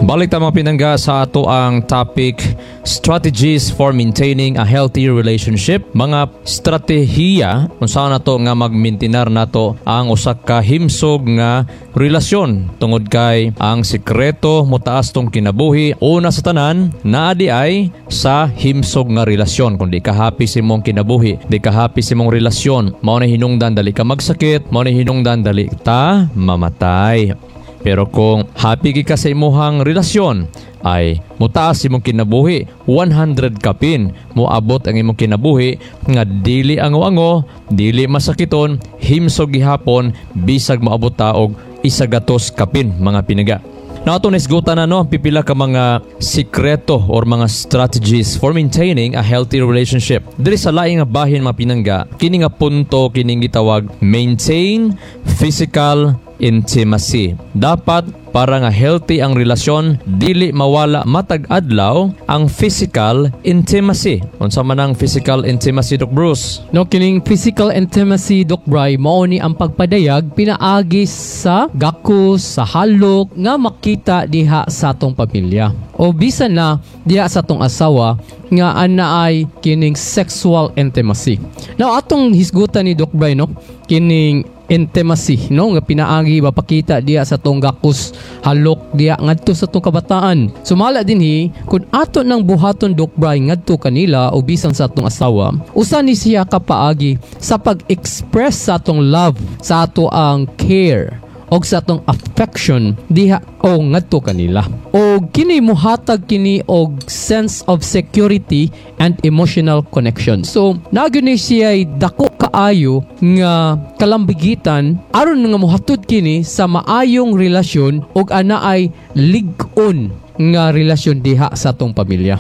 Balik ta, mga pinangga, sa ato ang topic, strategies for maintaining a healthy relationship. Mga estratehiya unsa nato nga magmintinar nato ang usa ka himsog nga relasyon, tungod kay ang sikreto motaas tong kinabuhi, una sa tanan, naa diay sa himsog nga relasyon. Kung di ka happy sa imong kinabuhi, di ka happy sa imong relasyon, mao na hinungdan dali ka magsakit, mao na hinungdan dali ta mamatay. Pero kung happy ka sa imuhang relasyon, ay mutaas imong kinabuhi, 100 kapin moabot ang imong kinabuhi nga dili ango-ango, dili masakiton, himsog gihapon bisag moabot ta og 100 kapin, mga pinangga. Na ato naisgutan na, no, ang pipila ka mga sikreto or mga strategies for maintaining a healthy relationship. Diri sa laing nga bahin, mga pinangga, kini nga punto, kining gitawag maintain physical intimacy. Dapat para nga healthy ang relasyon, dili mawala matag adlaw ang physical intimacy. Unsa man ang physical intimacy, Doc Bruce? No, kining physical intimacy, Doc Bry, mao ni ang pagpadayag pinaagi sa gakos, sa halok nga makita diha sa atong pamilya. O bisan na diha sa atong asawa nga ana ay kining sexual intimacy. Now, atong hisgutan ni Doc Bry, no, kining intimacy, no, nga pinaagi mapakita diha sa atong gakos, halok diha ngadto sa atong kabataan. Sumala dinhi, kung ato nang buhaton, Doc Bry, ngadto kanila o bisan sa atong asawa, usa ni siya ka paagi sa pag-express sa atong love, sa ato ang care og sa atong affection diha o ngadto kanila. O kini muhatag kini og sense of security and emotional connection. So naa gyud ni siya dako kaayo nga kalambigitan aron nga mohatod kini sa maayong relasyon ug ana ay lig-on nga relasyon diha sa atong pamilya.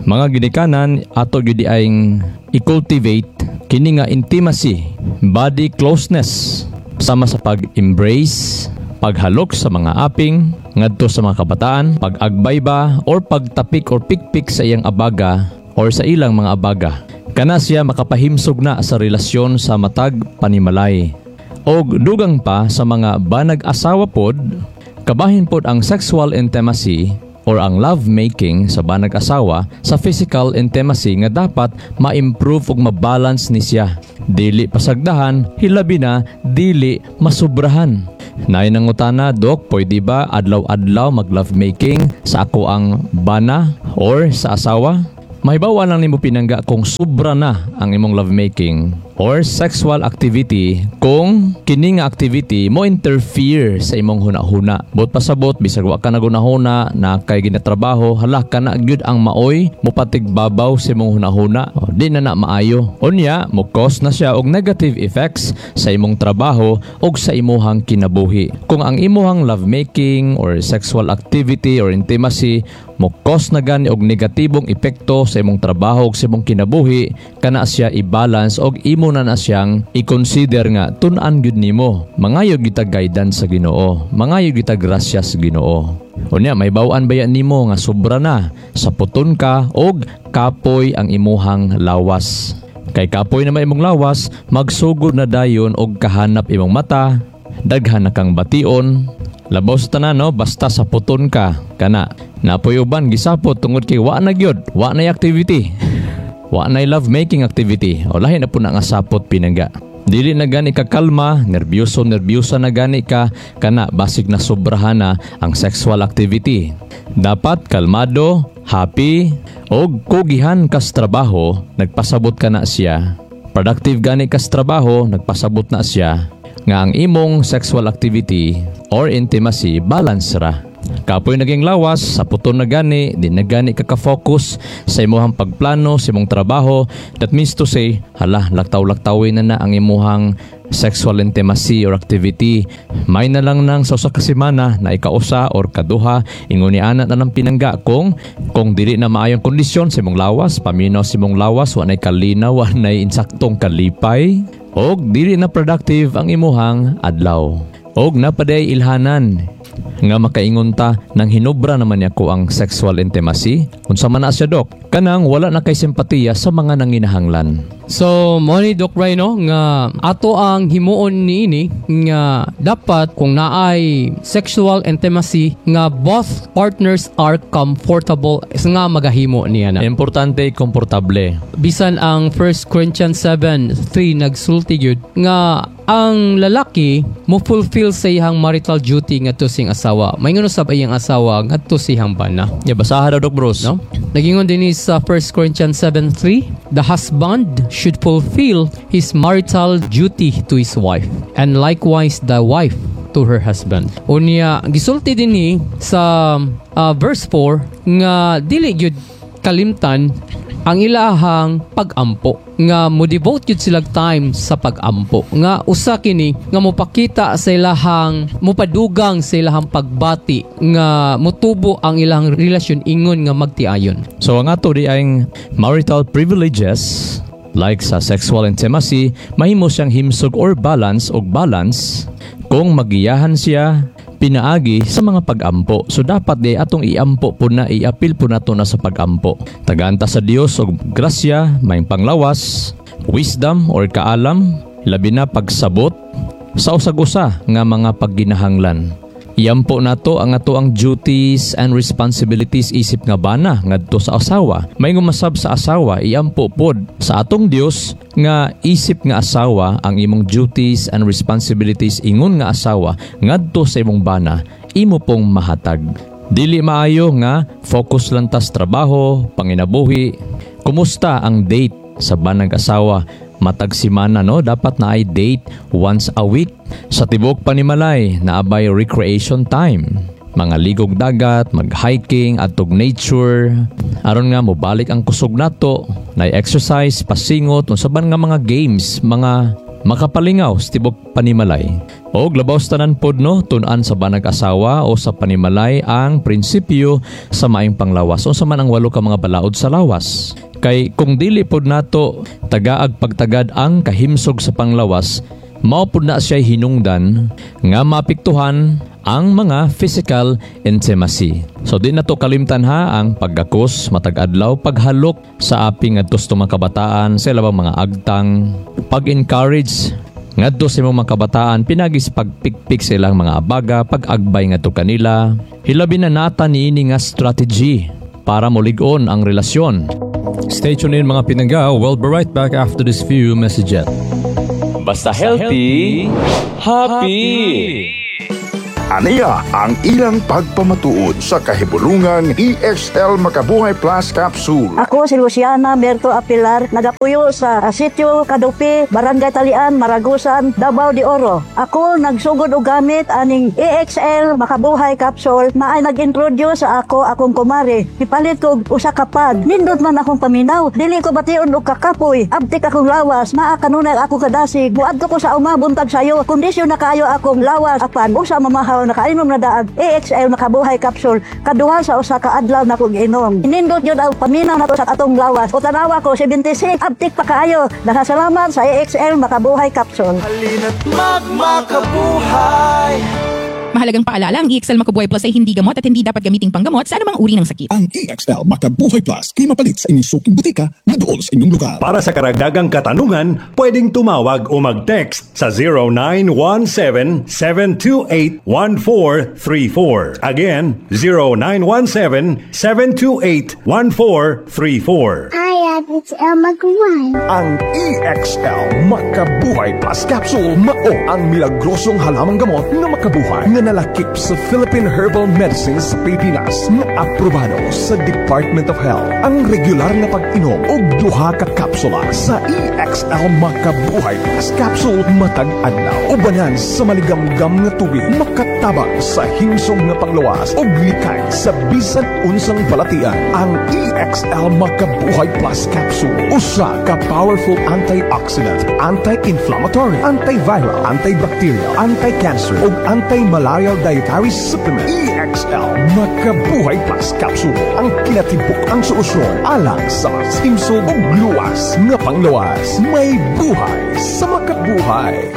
Mga ginikanan, ato gyud ay i-cultivate kini nga intimacy, body closeness, sama sa pag-embrace, paghalok sa mga aping, ngadto sa mga kabataan, pag-agbay ba or pagtapik or pikpik sa iyang abaga or sa ilang mga abaga. Kana siya makapahimsog na sa relasyon sa matag panimalay. Og dugang pa sa mga banag asawa pod, kabahin pod ang sexual intimacy or ang love making sa banag asawa sa physical intimacy nga dapat ma-improve ug ma-balance ni siya. Dili pasagdahan, hilabi na dili masubrahan. Naay nangutana, "Dok, pwede ba adlaw-adlaw mag love making sa ako ang bana or sa asawa?" Mahibaw lang nimo, pinangga, kung sobra na ang imong lovemaking or sexual activity kung kini nga activity mo interfere sa imong hunahuna. Buot pasabot, bisag wa ka nagunahuna na kay ginatrabaho, hala, kana gyud ang maoy mopatigbabaw sa imong hunahuna. O, di na na maayo. Unya, mo cause na siya og negative effects sa imong trabaho og sa imuhang kinabuhi. Kung ang imuhang lovemaking or sexual activity or intimacy mo cause na gani og negatibong epekto sa imong trabaho ug sa imong kinabuhi, kana siya i-balance og imo na na siyang i-consider nga tun-an gyud nimo. Mangayo gyud guidance sa Ginoo. Mangayo gyud grasya sa Ginoo. Unya, mahibaw-an baya nimo nga sobra na, saputon ka og kapoy ang imuhang lawas. Kay kapoy na man imong lawas, magsugod na dayon og kahanap imong mata, daghan na kang bation. Labaw sa tanan, no, basta saputon ka, kana. Naa poy uban gisapot tungod kay wa na gyud, wa na activity. Wa na love making activity. O lahi na po na nga sapot, pinangga. Dili na gani ka kalma, nerbiyoso nerbiyosa na gani ka, kana basig na sobrahan na ang sexual activity. Dapat kalmado, happy, og kugihan kas trabaho, nagpasabot ka na siya. Productive gani kas trabaho, nagpasabot na siya nga ang imong sexual activity or intimacy balance ra. Kapoy naging lawas, saputon na gani, di na gani ka ka-focus sa imuhang pagplano, sa imong trabaho. That means to say, hala, laktaw-laktawin na na ang imuhang sexual intimacy or activity. May na lang nang sa usa ka semana na ikausa or kaduha, ingon ni ana na ng, pinangga, kung dili na maayong kondisyon sa imong lawas, paminaw sa imong lawas, wa nay kalinaw, wa nay insaktong kalipay, og dili na productive ang imuhang adlaw. Og napaday ilhanan nga makaingon ta nang hinubra naman niya ko ang sexual intimacy. Unsa man na siya, Dok? Kanang wala na kay simpatiya sa mga nanginahanglan. So, mo ni, Doc Bry, no, nga ato ang himuon niini nga dapat kung naay sexual intimacy nga both partners are comfortable nga magahimo niya na. Importante, komportable. Bisan ang 1 Corinthians 7:3 nagsulti gyud nga ang lalaki mo fulfill sa iyang marital duty ngadto sa iyang asawa. Maingon usab iyang asawa ngadto sa iyang bana. Ya, basaha daw, Doc Bruce. No? Nagingon din ni sa 1 Corinthians 7:3, "The husband should fulfill his marital duty to his wife, and likewise the wife to her husband." Unya gisulti din ni sa verse 4 nga dili gyud kalimtan ang ilahang pag-ampo, nga mo devote gyud sila time sa pag-ampo, nga usa kini nga mopakita sa ilahang, mopadugang sa ilahang pagbati, nga motubo ang ilang relasyon ingon nga magtiayon. So ang ato di ang marital privileges like sa sexual intimacy, mahimo siyang himsog or balance og balance kung magiyahan siya pinaagi sa mga pag-ampo. So dapat di atong iampo po na, iapil po nato na sa pag-ampo. Tagaanta sa Dios og grasya, may panglawas, wisdom or kaalam, labi na pagsabot sa usag-usa nga mga pagginahanglan. Iampo nato ang ato ang duties and responsibilities isip nga bana ngadto sa asawa. May ngumasab sa asawa, iampo pod sa atong Dios nga isip nga asawa ang imong duties and responsibilities ingon nga asawa ngadto sa imong bana, imo pong mahatag. Dili maayo nga focus lang tas trabaho, panginabuhi. Kumusta ang date sa banag asawa? Matag simana, no, dapat na ay date once a week. Sa tibok panimalay naabay recreation time, mga ligog dagat, mag-hiking adtog nature, aron nga mobalik ang kusog nato, na exercise, pasingot, unsa ban nga mga games, mga makapalingaw sa tibok panimalay. O labaw sa tanan pod, no, tun-an sa banag asawa o sa panimalay ang prinsipyo sa maayong panglawas. Unsa man ang walo ka mga balaod sa lawas? Kay kung dili pod nato tagaag pagtagad ang kahimsog sa panglawas, mao pod na siya hinungdan nga maapektuhan ang mga physical intimacy. So di na to kalimtan ha ang paggakos matag adlaw, paghalok sa aping ngadto sa mga kabataan sa ilabang mga agtang, pag-encourage ngadto sa imong mga kabataan pinagi sa pagpikpik sa ilang mga abaga, pag-agbay ngadto kanila. Hilabi na nata niini nga strategy para mulig-on ang relasyon. Stay tuned in, mga pinangga. We'll be right back after this few messages. Basta healthy, happy. Aniya ang ilang pagpamatuod sa kahibulungang EXL Makabuhay Plus Capsule. Ako si Luciana Berto Apilar, nagapuyo sa Sitio Kadupi, Barangay Talian, Maragusan, Davao de Oro. Ako nagsugod og gamit aning EXL Makabuhay Capsule na ay nag-introduce sa ako akong kumare. Ipalit ko og usa ka pad. Nindot man akong paminaw. Dili ko bation og kakapoy. Abtik akong lawas. Naa kanunay ako kadasig. Muadto ko sa uma buntag sayo. Kondisyon na kaayo akong lawas apan usa mamahaw, nakainom na daag EXL Makabuhay Capsule. Kaduha sa usa ka adlaw na kong inom. Nindot yun ang paminaw nato sa atong lawas. O tanawa ko 76, abtik pa kaayo. Nakasalamat sa EXL Makabuhay Capsule. Halina't magmakabuhay. Mahalagang paalala, ang EXL Makabuhay Plus ay hindi gamot at hindi dapat gamiting panggamot sa anumang uri ng sakit. Ang EXL Makabuhay Plus kay mapalit sa inyong suking butika na dool sa inyong lugar. Para sa karagdagang katanungan, pwedeng tumawag o mag-text sa 0917-728-1434. Again, 0917-728-1434. Hi, it's Elma Guan. Ang EXL Makabuhay Plus Capsule mao ang milagrosong halamang gamot nga makabuhay nga nalakip sa Philippine Herbal Medicines sa Pilipinas nga aprobado sa Department of Health. Ang regular nga pag-inom og duha ka kapsula sa EXL Makabuhay Plus Capsule matag adlaw ubanan sa maligamgam nga tubig makatabang sa himsog nga panglawas ug likay sa bisan unsang balatian. Ang EXL Makabuhay Plus Capsule usa ka powerful antioxidant, anti-inflammatory, antiviral, antibacterial, anti-cancer ug anti-malarial dietary supplement. EXL Makabuhay Plus Capsule ang kinatibuk ang solusyon alang sa mas himsog ug luwas nga panglawas. May buhay sa makabuhay.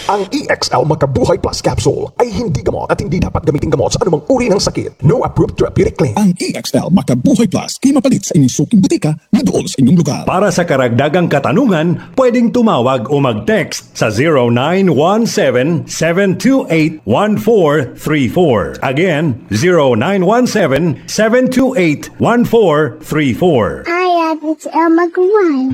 Ang EXL Makabuhay Plus Capsule ay hindi gamot at hindi dapat gamitin gamot sa anumang uri ng sakit. No approved therapeutic claim. Ang EXL Makabuhay Plus kay mapalit sa inyong suking butika na dool sa inyong lugar. Para sa karagdagang katanungan, pwedeng tumawag o mag-text sa 0917-728-1434. Again, 0917-728-1434. Hi, it's Elma Guan.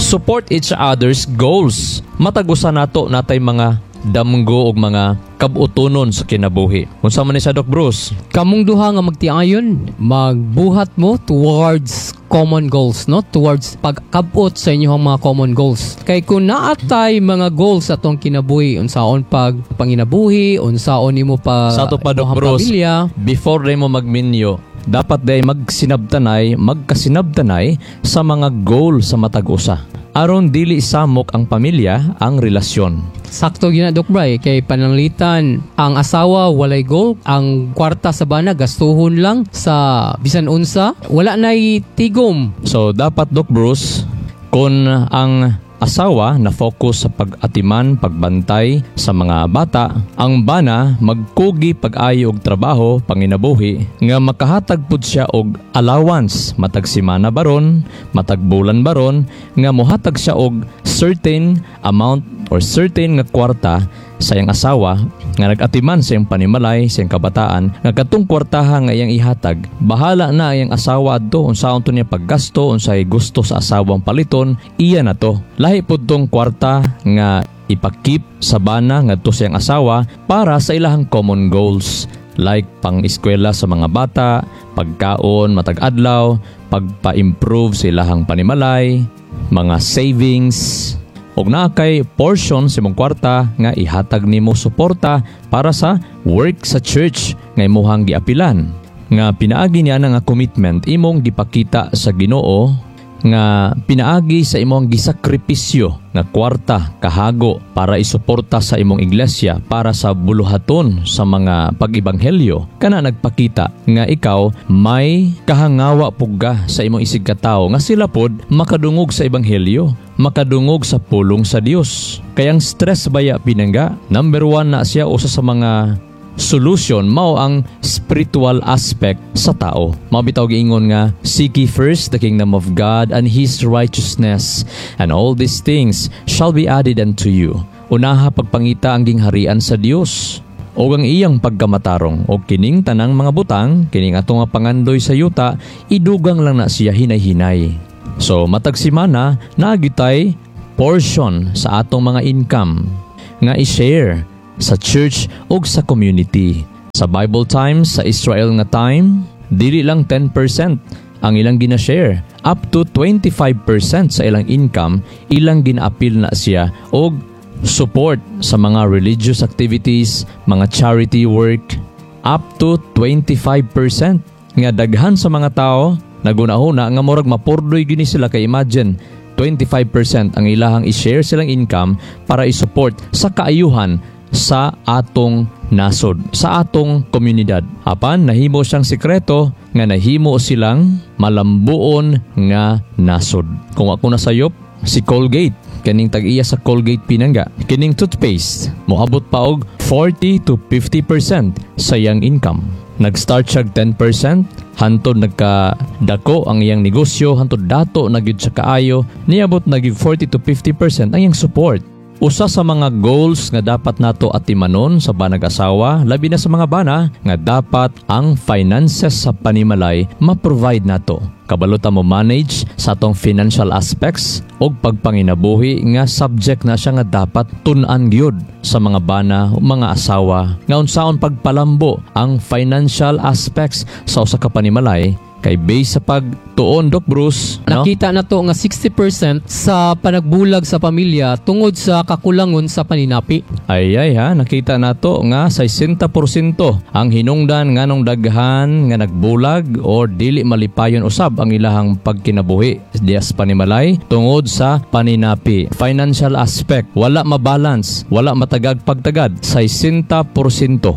Support each other's goals. Matag usa nato natay mga damgo og mga kabutonon sa kinabuhi. Unsa man ni sa Doc Bruce? Kamong duha nga magtiayon, magbuhat mo towards common goals, no? Towards pagkabot sa inyong mga common goals. Kay kung naatay mga goals sa atong kinabuhi, unsaon pag panginabuhi, unsaon nimo pa Sa ato pa, Doc imong Bruce, pamilya, before mo magminyo, dapat day magsinabtanay, magkasinabtanay sa mga goal sa matag usa. Aron dili samok ang pamilya, ang relasyon. Sakto gyud na, Doc Bray, kay pananglitan ang asawa walay goal, ang kwarta sa bana gastuhon lang sa bisan unsa, wala nay tigom. So dapat, Doc Bruce, kung ang asawa na focus sa pag-atiman, pagbantay sa mga bata, ang bana magkugi pag-ayo og trabaho, panginabuhi, nga makahatag pud siya og allowance matag semana baron, matag bulan baron, nga mohatag siya og certain amount or certain nga kwarta sa iyang asawa nga nag-atiman sa iyang panimalay, sa iyang kabataan, nga katong kwartaha nga iyang ihatag, bahala na iyang asawa adto unsaon to niya paggasto, unsay gusto sa asawang paliton, iya na to. Lahi pud tong kwarta nga ipakip sa bana ngadto sa iyang asawa para sa ilahang common goals like pang-eskwela sa mga bata, pagkaon matag adlaw, pagpa-improve sa ilahang panimalay, mga savings, og naa kay portion sa imong kwarta nga ihatag nimo suporta para sa work sa church nga imuhang giapilan. Nga pinaagi niya na nga commitment imong gipakita sa Ginoo nga pinaagi sa imong gisakripisyo nga kwarta kahago para isuporta sa imong iglesia para sa buluhaton sa mga pag-ebanghelyo, kana nagpakita nga ikaw may kahangawa pugga sa imong isig katawo nga sila pod makadungog sa ebanghelyo, makadungog sa pulong sa Dios. Kayang stress baya pinangga, number 1 na siya usa sa mga solution mao ang spiritual aspect sa tao. Mao bitaw giingon nga seek ye first the kingdom of God and His righteousness, and all these things shall be added unto you. Unaha pagpangita ang gingharian sa Dios og ang iyang pagkamatarong, og kining tanang mga butang, kining atong nga pangandoy sa yuta, idugang lang na siya hinay-hinay. So matag semana naa gyud portion sa atong mga income nga i-share sa church og sa community. Sa Bible times, sa Israel nga time, dili lang 10% ang ilang gina-share. Up to 25% sa ilang income, ilang gina-appeal na siya og support sa mga religious activities, mga charity work, up to 25%. Nga daghan sa mga tao, nagunahuna nga murag mapurdoy gini sila kay imagine 25% ang ilahang i-share silang income para i-support sa kaayuhan sa atong nasod, sa atong komunidad. Apan nahimo siyang sikreto nga nahimo silang malambuon nga nasod. Kung ako nasayop, si Colgate, kining tag-iya sa Colgate pinangga, kining toothpaste, moabot pa og 40 to 50% sa iyang income. Nag-start siya 10%, hantod nagkadako ang iyang negosyo, hantod dato na gyud siya kaayo, niabot na gyud 40 to 50% ang iyang support. Usa sa mga goals nga dapat nato atimanon sa banag-asawa, labi na sa mga bana, nga dapat ang finances sa panimalay ma-provide nato. Kabalo ta mo manage sa atong financial aspects og pagpanginabuhi nga subject na siya nga dapat tun-an gyud sa mga bana o mga asawa. Nga unsaon pagpalambo ang financial aspects sa usa ka panimalay kay base sa pagtuon, Doc Bruce, no? Nakita na to nga 60% sa panagbulag sa pamilya tungod sa kakulangon sa paninapi. Ay ay ha, nakita na to nga 60% ang hinungdan nganong daghan nga nagbulag or dili malipayon usab ang ilahang pagkinabuhi diya sa panimalay tungod sa paninapi. Financial aspect, wala mabalance, wala matagag pagtagad, 60%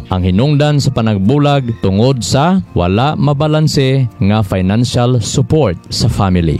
ang hinungdan sa panagbulag tungod sa wala mabalanse nga financial support sa family.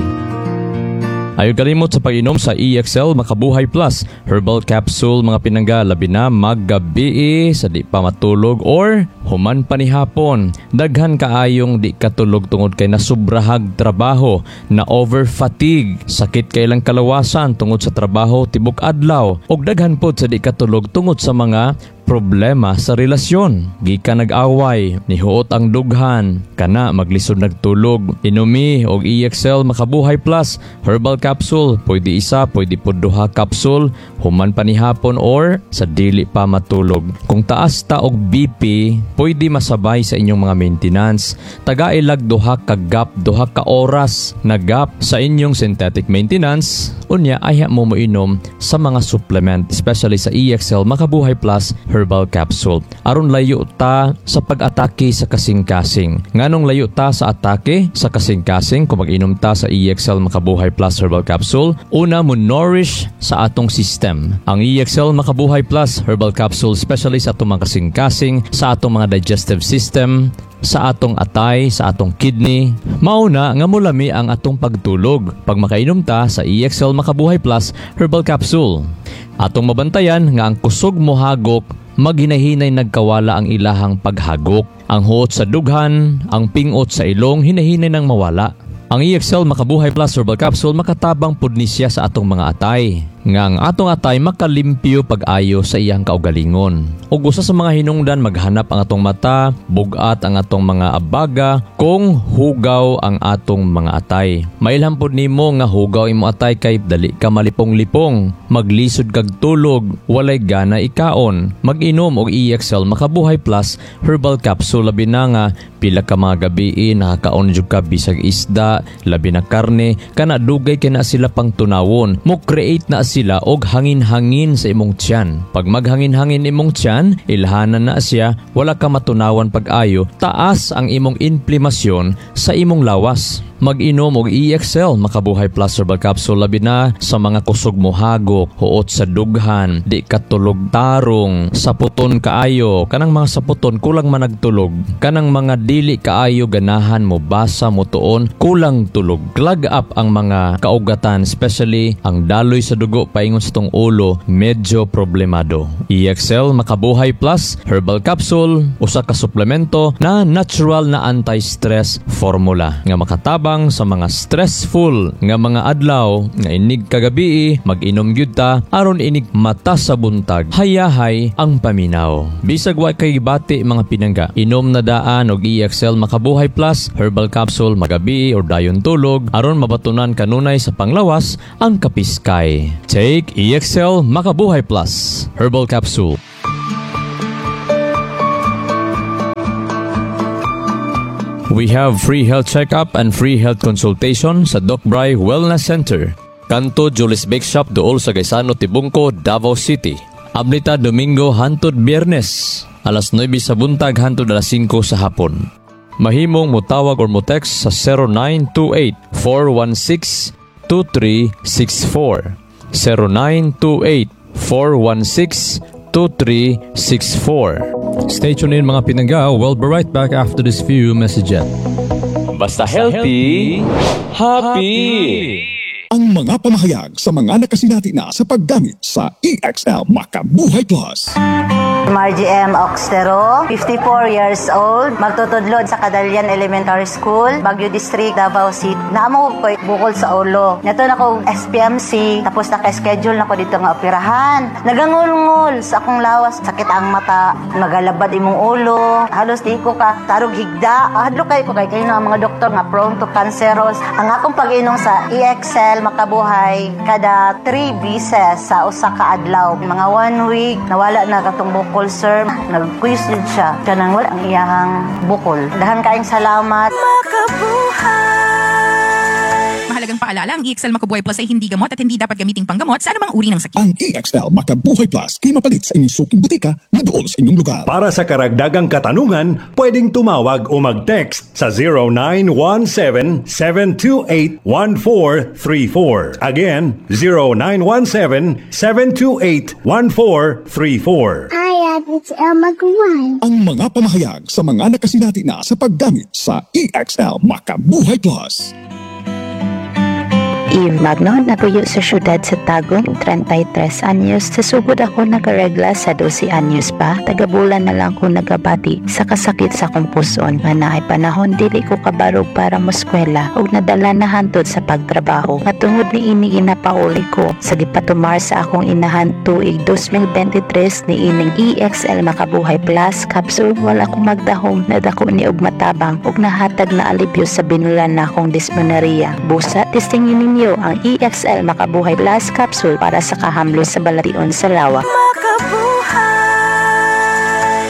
Ayaw kalimot sa pag-inom sa EXL Makabuhay Plus Herbal Capsule, mga pinangga, labi na maggabi sa di pa matulog or human pa ni hapon. Daghan kaayong di katulog tungod kay nasubrahag trabaho, na over fatigue, sakit kay ilang kalawasan tungod sa trabaho tibok adlaw, ug daghan pod sa di katulog tungod sa mga problema sa relasyon. Gikan nag-away, nihuot ang dughan, kana maglisod nagtulog. Inumi og EXL Makabuhay Plus Herbal Capsule, pwede isa, pwede pud duha capsule, human pa ni hapon or sa dili pa matulog. Kung taas ta og BP, pwede masabay sa inyong mga maintenance. Tagailag duha ka gap, duha ka oras na gap sa inyong synthetic maintenance. Unya ayha mo moinom sa mga supplement, especially sa EXL Makabuhay Plus Herbal Capsule. Aron layo ta sa pag-atake sa kasing-kasing. Nganong layo ta sa atake sa kasing-kasing kung mag-inom ta sa EXL Makabuhay Plus Herbal Capsule? Una, mo nourish sa atong system. Ang EXL Makabuhay Plus Herbal Capsule, especially sa atong mga kasing-kasing, sa atong mga digestive system, sa atong atay, sa atong kidney, mauna nga mulami ang atong pagtulog pag makainom ta sa EXL Makabuhay Plus Herbal Capsule. Atong mabantayan nga ang kusog mohagok, maghinahinay nagkawala ang ilahang paghagok. Ang huot sa dughan, ang pingot sa ilong, hinahinay nang mawala. Ang EXL Makabuhay Plus Herbal Capsule makatabang pud ni siya sa atong mga atay. Nga ang atong atay makalimpyo pag-ayo sa iyang kaugalingon. Ug usa sa mga hinungdan maghanap ang atong mata, bugat ang atong mga abaga kung hugaw ang atong mga atay. Mailhan pud nimo nga hugaw imo atay kay dali ka malipong-lipong, maglisod kag tulog, walay gana ikaon. Mag-inom og EXL Makabuhay Plus Herbal Capsule, labi na nga pila ka mga gabi nakakaon jud ka bisag isda, labi na karne, kana dugay kay na sila pang tunawon. Mo create na sila og hangin-hangin sa imong tiyan. Pag maghangin-hangin imong tiyan, ilhanan na siya, wala ka matunawan pag-ayo, taas ang imong inflamasyon sa imong lawas. Mag-inom og EXL Makabuhay Plus Herbal Capsule, labi na sa mga kusog mohagok, huot sa dughan, di katulog tarong, saputon kaayo, kanang mga saputon kulang managtulog, kanang mga dili kaayo ganahan mo basa mo tuon, kulang tulog. Clog up ang mga kaugatan, especially ang daloy sa dugo paingon sa tong ulo, medyo problemado. EXL Makabuhay Plus Herbal Capsule, usa ka suplemento na natural na anti-stress formula nga makatabang sa mga stressful nga mga adlaw nga inig kagabi, mag-inom gyud ta aron inig mata sa buntag, hayahay ang paminaw. Bisag wa kay bati, mga pinangga, inom na daan og EXL Makabuhay Plus Herbal Capsule magabi or dayon tulog aron mabatunan kanunay sa panglawas ang kapiskay. Take EXL Makabuhay Plus Herbal Capsule. We have free health checkup and free health consultation sa Doc Bry Wellness Center. Kanto Julis Bake Shop, duol sa Gaisano, Tibungko, Davao City. Ablita Domingo hantod Biyernes, alas 9 sa buntag hantod alas 5 sa hapon. Mahimong motawag or mo-text sa 0928-416-2364. 0928-416-2364. Stay tuned in, mga pinangga. We'll be right back after this few messages. Basta healthy, happy. Ang mga pamahayag sa mga nakasinati na sa paggamit sa EXL Makabuhay Plus. Margie M. Oxtero, 54 years old, magtutudlod sa Cadalian Elementary School, Baguio District, Davao City. Naamo ko bukol sa ulo. Nato na ko SPMC, tapos naka-schedule na ko dito nga operahan. Nagangulngol sa akong lawas, sakit ang mata, magalabad imong ulo, halos di ko ka tarog higda. Hadlok kay ko kay kayo ang mga doktor nga prone to cancerous. Ang akong pag-inom sa EXL Makabuhay kada 3 beses sa usa ka adlaw. Mga 1 week nawala na katong bukol, sir. Nag-quiz jud siya. Kanang wala ang iyahang bukol. Dahan kaayong salamat. Mahalagang paalala, ang EXL Makabuhay Plus ay hindi gamot at hindi dapat gamiting panggamot sa anumang uri ng sakit. Ang EXL Makabuhay Plus kay mapalit sa inyong suking butika na dool sa inyong lugar. Para sa karagdagang katanungan, pwedeng tumawag o mag-text sa 0917-728-1434. Again, 0917-728-1434. I am XL Magwan. Ang mga pamahayag sa mga nakasinati na sa paggamit sa EXL Makabuhay Plus. Eve Magno, napuyo sa syudad sa Tagum, 33 anyos. Sa sugod ako nakaregla sa 12 anyos pa. Tagabulan na lang ko nagabati sa kasakit sa akong puson. Nga naay panahon dili ko kabarog para moskwela ug nadala na hantod sa pagtrabaho. Nga tungod ni ini ginapauli ko sa gipatumar sa akong inahan tuig 2023 ni ining EXL Makabuhay Plus capsule, wala ko magdahom, nadako ni og matabang ug nahatag na alibyo sa binulan na akong dysmenorrhea. Busa, testingin ninyo ang EXL Makabuhay Plus capsule para sa kahamlo sa balation sa lawa.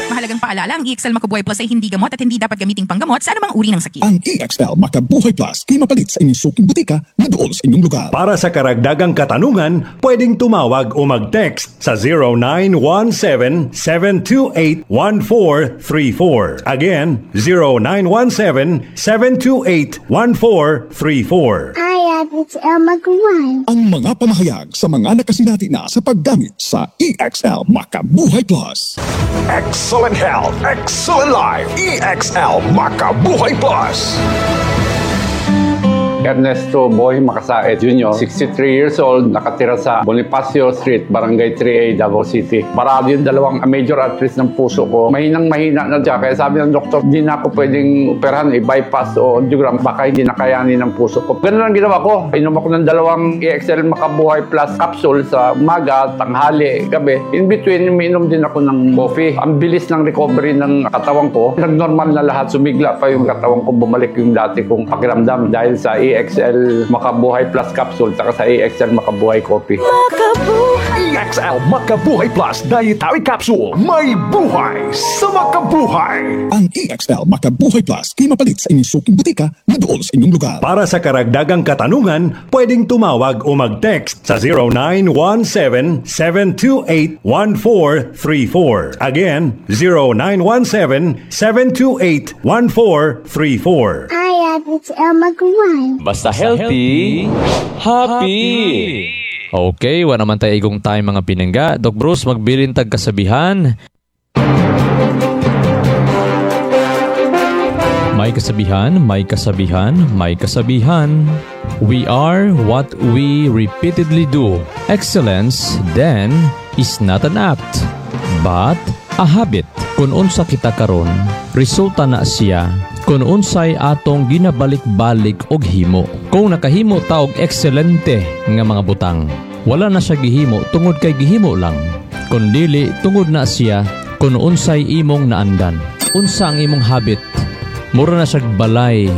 Mahalagang paalala, ang EXL Makabuhay Plus ay hindi gamot at hindi dapat gamiting panggamot sa anumang uri ng sakit. Ang EXL Makabuhay Plus kay mapalit sa inyong suking butika na duol sa inyong lugar. Para sa karagdagang katanungan, pwedeng tumawag o mag-text sa 0917-728-1434. Again, 0917-728-1434. I am XL Magawan. Ang mga pamahayag sa mga nakasinati na sa paggamit sa EXL Makabuhay Plus. Excellent health, excellent life. EXL Makabuhay Plus. Ernesto Boy Makasaet Jr., 63 years old, nakatira sa Bonifacio Street, Barangay 3A, Davao City. Barado yung dalawang major arteries ng puso ko. Mahinang mahina na siya. Kaya sabi ng doktor, hindi na ako pwedeng operahan, i-bypass o angiogram. Baka hindi na kayanin ng puso ko. Ganun lang ginawa ko. Inom ako ng dalawang EXL Makabuhay Plus capsule sa umaga, tanghali, gabi. In between, umiinom din ako ng coffee. Ang bilis ng recovery ng katawan ko. Nag-normal na lahat. Sumigla pa yung katawan ko. Bumalik yung dati kong pakiramdam dahil sa EXL Makabuhay Plus capsule saka sa EXL Makabuhay Coffee. EXL Makabuhay Plus Dietary Capsule. May buhay sa makabuhay. Ang EXL Makabuhay Plus kay mapalit sa inyong suking butika na duol sa inyong lugar. Para sa karagdagang katanungan, pwedeng tumawag o mag-text sa 0917-728-1434. Again, 0917-728-1434. I am XL Magawan. Basta healthy, happy. Okay, wala naman tayo igong time, mga pinangga. Doc Bruce, magbilin tag kasabihan. May kasabihan, may kasabihan, may kasabihan. We are what we repeatedly do. Excellence, then, is not an act, but a habit. Kung unsa kita karon, resulta na siya kung unsay atong ginabalik-balik og himo. Kung nakahimo ta og ekselente nga mga butang, wala na siya gihimo tungod kay gihimo lang. Kung dili, tungod na siya kung unsay imong naandan. Unsa ang imong habit? Mura na siyag balay.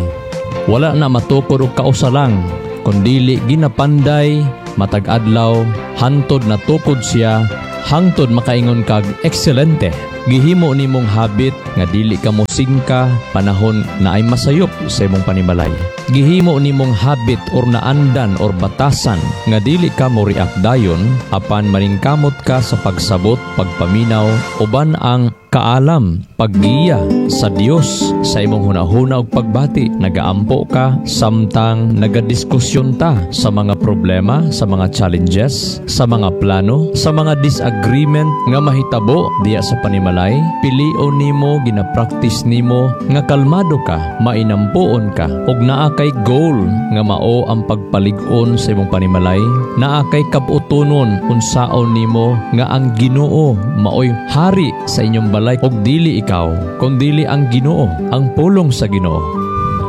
Wala na matukod og kausa lang. Kung dili ginapanday, matag adlaw, hantod na tukod siya, hangtod makaingon kag ekselente. Gihimo nimong habit nga dili ka mosingka panahon na ay masayop sa imong panimalay. Gihimo nimong habit or naandan or batasan nga dili ka mo react dayon apan maningkamot ka sa pagsabot, pagpaminaw uban ang kaalam, paggiya sa Dios sa imong hunahuna ug pagbati. Nagaampo ka samtang nagadiskusyon ta sa mga problema, sa mga challenges, sa mga plano, sa mga disagreement nga mahitabo diya sa panimalay. Pilion nimo, ginapractice nimo nga kalmado ka, mainampuon ka ug naa kay goal nga mao ang pagpalig-on sa imong panimalay. Naa kay kabutonon unsaon nimo nga ang Ginoo maoy hari sa inyong balay ug dili ikaw, kundili ang Ginoo, ang pulong sa Ginoo.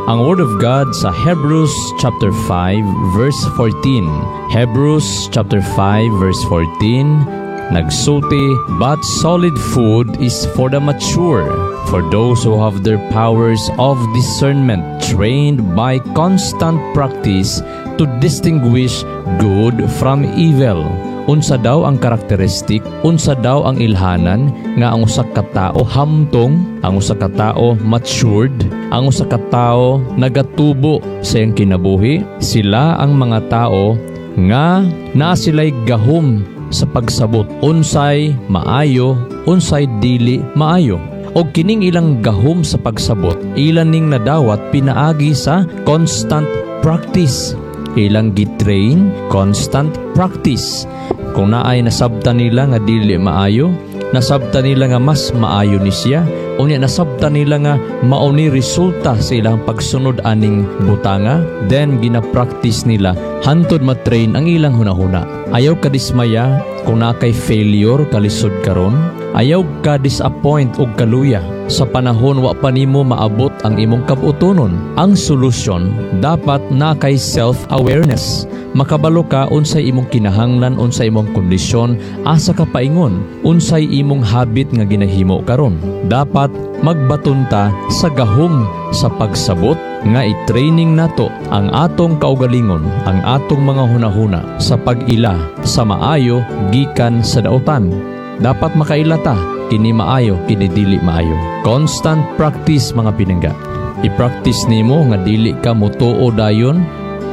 Ang Word of God sa Hebrews chapter 5 verse 14. Hebrews chapter 5 verse 14 nagsulti, "But solid food is for the mature, for those who have their powers of discernment trained by constant practice to distinguish good from evil." Unsa daw ang karakteristik, unsa daw ang ilhanan nga ang usa ka tawo hamtong, ang usa ka tawo matured, ang usa ka tawo nagatubo sa iyang kinabuhi? Sila ang mga tao nga naa sila'y gahom sa pagsabot unsay maayo, unsay dili maayo. Og kining ilang gahom sa pagsabot, ilan ning nadawat pinaagi sa constant practice. Ilang gitrain, constant practice. Kung naay nasabta nila nga dili maayo, nasabta nila nga mas maayo ni siya, Unya nasabtan nila nga mao ni resulta sa ilang pagsunod aning butanga, then gina-practice nila hantod ma-train ang ilang hunahuna. Ayaw ka dismaya kung naa kay failure, kalisod karon. Ayaw ka disappoint og kaluya sa panahon wa pa nimo maabot ang imong kabutonon. Ang solusyon, dapat naa kay self-awareness. Makabalo ka unsay imong kinahanglan, unsay imong kondisyon, asa ka paingon, unsay imong habit nga ginahimo karon. Dapat magbaton ta sa gahom sa pagsabot nga i-training nato ang atong kaugalingon, ang atong mga hunahuna sa pag-ila sa maayo gikan sa dautan. Dapat makaila ta, kini maayo, kini dili maayo. Constant practice, mga pinangga. I-practice nimo nga dili ka mutuo dayon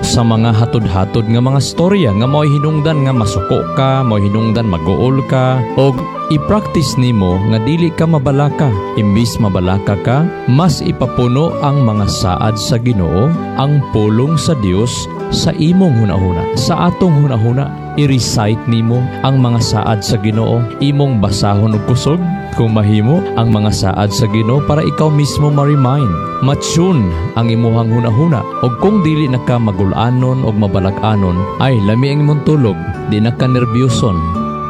sa mga hatod-hatod nga mga storya nga mao'y hinungdan nga masuko ka, mao'y hinungdan maguol ka, og i-practice nimo nga dili ka mabalaka. Imbis mabalaka ka, mas ipapuno ang mga saad sa Ginoo, ang pulong sa Dios sa imong hunahuna, sa atong hunahuna. I-recite nimo ang mga saad sa Ginoo, imong basahon og kusog kung mahimo ang mga saad sa Ginoo para ikaw mismo ma-remind, ma-tune ang imuhang hunahuna. Og kung dili na ka magulanon og mabalak-anon, ay lami ang imong tulog, di na ka nerbyuson,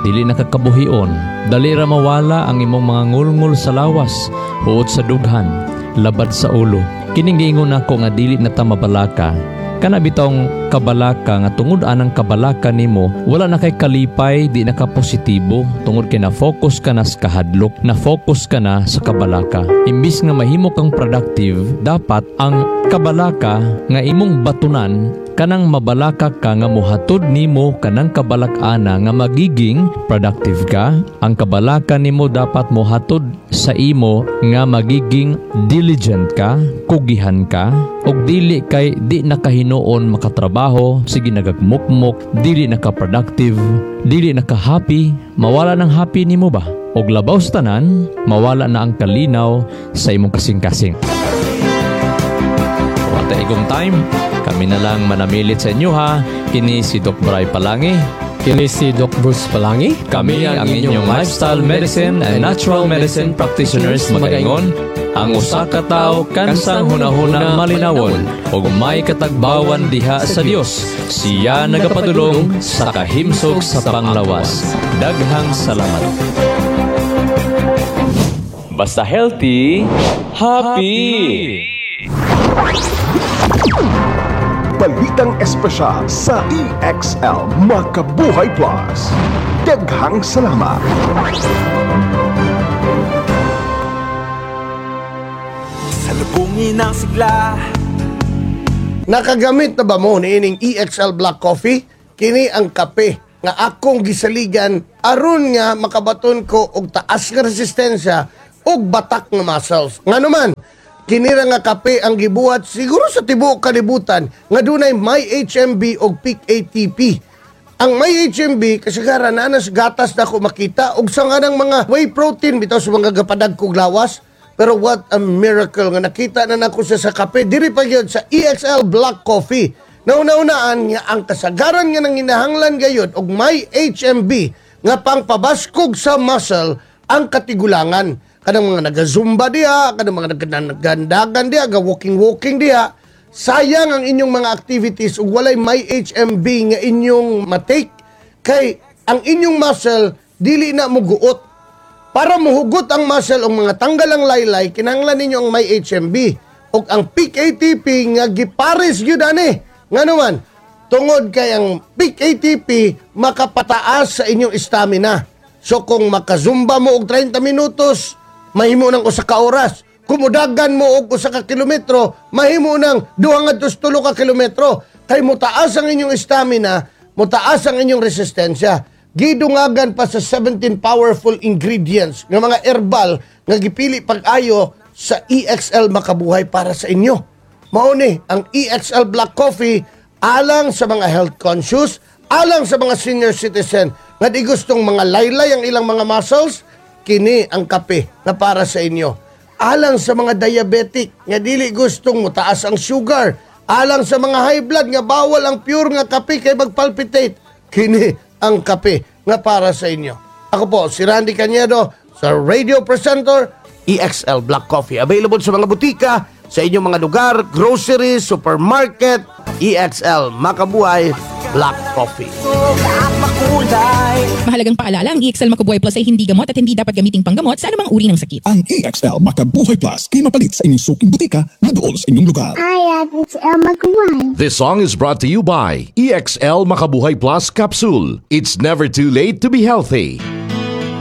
dili na ka kabuhion, dali ra mawala ang imong mga ngulngul sa lawas, huot sa dughan, labad sa ulo. Kining giingon nako nga dili na ta mabalaka, kana bitong kabalaka nga tungod anang kabalaka nimo wala na kay kalipay, di na ka positibo tungod kay na-focus ka na sa kahadlok, na-focus ka na sa kabalaka. Imbis nga mahimo kang productive, dapat ang kabalaka nga imong batunan, kanang mabalaka ka nga mohatod nimo kanang kabalak-ana nga magiging productive ka. Ang kabalaka nimo dapat mohatod sa imo nga magiging diligent ka, kugihan ka, ug dili kay di nakahinuon makatrabaho, sige nagagmukmok, dili naka-productive, dili naka-happy, mawala ng happy nimo ba? Og labaw sa tanan, mawala na ang kalinaw sa imong kasing-kasing. Wala igong time, kami na lang manamilit sa inyo ha. Kini si Doc Bray Palangi. Kini si Doc Bruce Palangi. Kami ang inyong lifestyle medicine and natural medicine practitioners, magaingon: ang usa ka tawo kansang hunahuna malinawon ug may katagbawan diha sa Dios, siya nagapadulong sa kahimsog sa panglawas. Daghang salamat. Basta healthy, happy. Balitang espesyal sa EXL Makabuhay Plus. Daghang salamat. Salubungin ang sigla. Nakagamit na ba mo niining EXL Black Coffee? Kini ang kape nga akong gisaligan aron nga makabaton ko og taas nga resistensya og batak nga muscles. Ngano man, kinira nga kape ang gibuhat siguro sa tibuok kalibutan nga dunay may HMB og peak ATP. Ang may HMB kasagaran naa na sa gatas na ako makita og sa nga ng mga whey protein bitaw sa mga gapadag kog lawas. Pero what a miracle nga nakita na nako siya sa kape diri pa gyud sa EXL Black Coffee. Nauna-unaan nga ang kasagaran nga nanginahanglan gayud og may HMB nga pangpabaskog sa muscle ang katigulangan. Kanang mga naga-zumba diha, kanang mga nagagandagan diha, ga-walking-walking diha. Sayang ang inyong mga activities ug walay may HMB nga inyong matake kay ang inyong muscle dili na muguot. Para muhugot ang muscle o mga tanggal ang laylay, kinahanglan ninyo ang may HMB ug ang peak ATP nga gipares gyud ani. Ngano man, tungod kay ang peak ATP makapataas sa inyong stamina. So kung makazumba mo og 30 minutos, mahimo nang usa ka oras. Kung mudagan mo og usa ka kilometro, mahimo nang 2-3 ka kilometro. Kay motaas ang inyong stamina, motaas ang inyong resistensya. Gidungagan pa sa 17 powerful ingredients nga mga herbal nga gipili pag-ayo sa EXL Makabuhay para sa inyo. Mao ni ang EXL Black Coffee alang sa mga health conscious, alang sa mga senior citizen nga di gustong mga laylay ang ilang mga muscles, kini ang kape na para sa inyo. Alang sa mga diabetic nga dili gustong motaas ang sugar, alang sa mga high blood nga bawal ang pure nga kape kay magpalpitate, kini ang kape nga para sa inyo. Ako po si Randy Cañedo sa radio presenter EXL Black Coffee. Available sa mga butika, sa inyong mga lugar, grocery, supermarket, EXL Makabuhay Black Coffee. Mahalagang paalala, ang EXL Makubuhay Plus ay hindi gamot at hindi dapat gamiting panggamot sa anumang uri ng sakit. Ang EXL Makabuhay Plus kay mapalit sa inyong suking butika na duol sa inyong lugar. I XL Makabuhay. This song is brought to you by EXL Makabuhay Plus Capsule. It's never too late to be healthy.